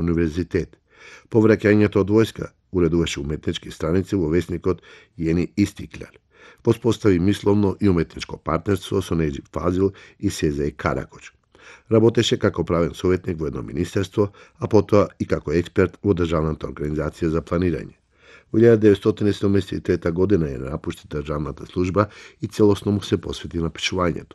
универзитет. По враќањето од војска уредуваше уметнички страници во весникот Јени Истикляр. Воспостави мисловно и уметничко партнерство со Неџип Фазил и Сезај Каракоч. Работеше како правен советник во едно министерство, а потоа и како експерт во Државната организација за планирање. Во 1973 година ја напушти државната служба и целосно му се посвети на пишувањето.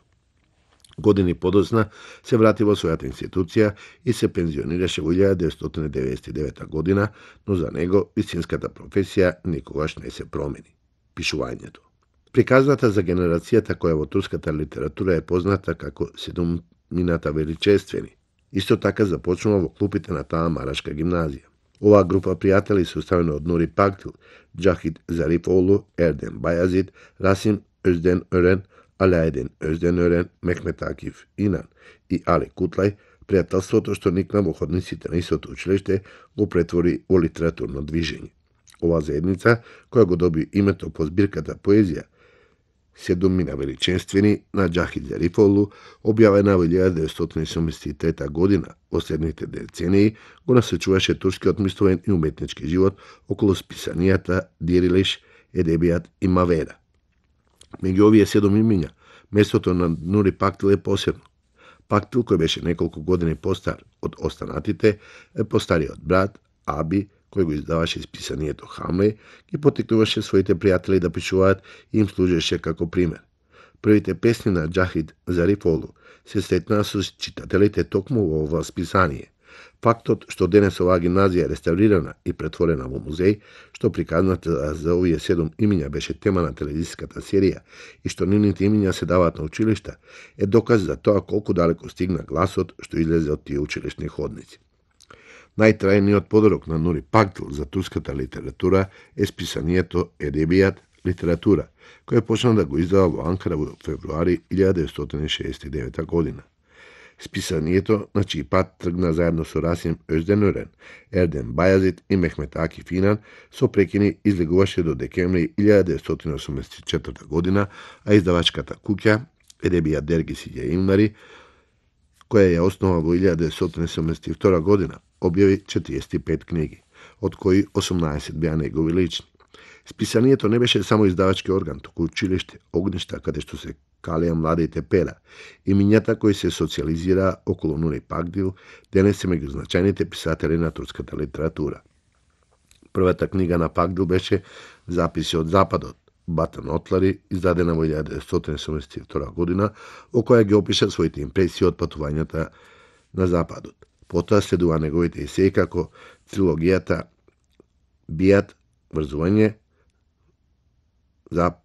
Години подоцна се врати во својата институција и се пензионираше во 1999 година, но за него вистинската професија никогаш не се промени – пишувањето. Приказната за генерацијата која во турската литература е позната како Седумината величествени, исто така започнува во клупите на таа марашка гимназија. Оваа група пријатели составена од Нури Пактил, Џахид Зарифоглу, Ерден Бајазид, Расим Озден Өрен, Алаедин Озден Өрен, Мехмет Акиф Инан и Али Кутлај, пријателството што никна во ходниците на истото училиште го претвори во литературно движење. Ова заедница, која го доби името по збирката поезија Седумина величествени на Џахид Зарифоглу, објавена во 1973 година, во следните децении го насочуваше турскиот мисловен и уметнички живот околу списанијата Дирилиш, Едебијат и Мавера. Меѓу овие 7 имиња, местото на Нури Пактил е посебно. Пактил, кој беше неколку години постар од останатите, е постариот брат, Аби, кој го издаваше списанието Хамле, ги поттикнуваше своите пријатели да пишуваат и им служеше како пример. Првите песни на Џахид Зарифоглу се сретнаа со читателите токму во ова списание. Фактот што денес оваа гимназија е реставрирана и претворена во музеј, што приказната за овие 7 имиња беше тема на телевизиската серија и што нивните имиња се даваат на училишта, е доказ за тоа колку далеко стигна гласот што излезе од тие училишни ходници. Најтрајниот подарок на Нури Пактил за турската литература е списанието Едебијат литература, кој почна да го издава во Анкара во февруари 1969 година. Списанието на чиј пат тргна заедно со Расим Озден Өрен, Ерден Бајазид и Мехмет Акиф Инан, со прекини излегуваше до декември 1984 година, а издавачката куќа Едебијат Дергиси Јаимнари, која ја основа во 1972 година, објави 45 книги, од кои 18 беа негови лични. Списанието не беше само издавачки орган, туку училиште, огништа каде што се калеа младите пера. Имињата кои се социализираа околу Нури Пактил денес се меѓу значајните писатели на турската литература. Првата книга на Пактил беше Записи од Западот, Батан Отлари, издадена во 1972 година, во која ги опиша своите импресии од патувањата на Западот. Потоа следува неговите есеи како трилогијата Бијат, врзување,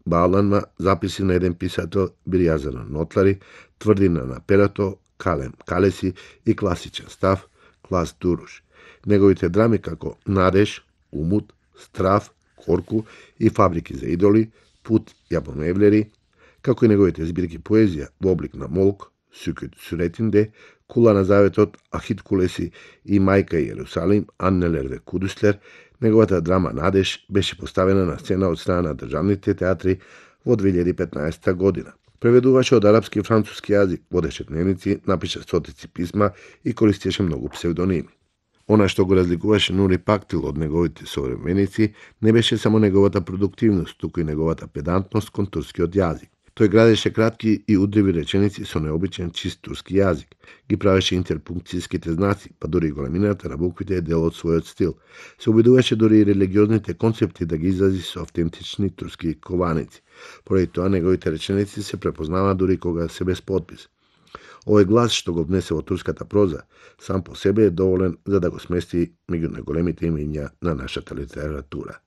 Баланма, записи на еден писател, Бирјазана Нотлари, Тврдина на перото, Калем Калеси и класичен став, Клас Дуруш. Неговите драми како Надеж, Умут, Страв, Корку и Фабрики за идоли, Пут Јабоневлери, како и неговите збирки поезија во облик на Молк, Сукут Суретинде, Кула на заветот, Ахит Кулеси и Мајка Јерусалим, Аннелерве Кудуслер, неговата драма Надеж беше поставена на сцена од страна на државните театри во 2015 година. Преведуваше од арапски и француски јазик, водеше дневници, напиша стотици писма и користеше многу псевдоними. Она што го разликуваше Нури Пактил од неговите современици не беше само неговата продуктивност, туку и неговата педантност кон турскиот јазик. Тој градеше кратки и удриви реченици со необичен чист турски јазик. Ги правеше интерпункцијските знаци, па дури големината на буквите е дел од својот стил. Се обидуваше дури и религиозните концепти да ги изрази со автентични турски кованици. Поради тоа неговите реченици се препознаваат дури кога се без подпис. Овој глас што го внесе во турската проза сам по себе е доволен за да го смести меѓу најголемите имиња на нашата литература.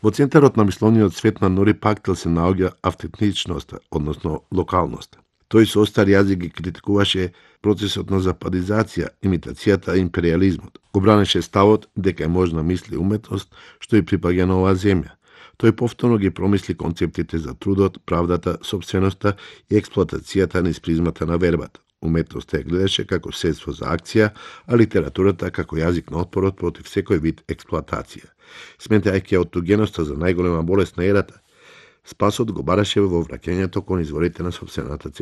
Во центарот на мисловниот свет на Нури Пактил се наоѓа автентичноста, односно локалноста. Тој со остар јазик ги критикуваше процесот на западизација, имитацијата и империализмот. Го бранеше ставот дека е можна мисли уметност што и припаѓа на оваа земја. Тој повторно ги промисли концептите за трудот, правдата, собственоста и експлоатацијата низ призмата на вербата. Уметноста ја гледаше како средство за акција, а литературата како јазик на отпорот против секој вид експлоатација. Сметајќи аутогеноста за најголема болест на ерата, спасот го бараше во враќањето кон изворите на собствената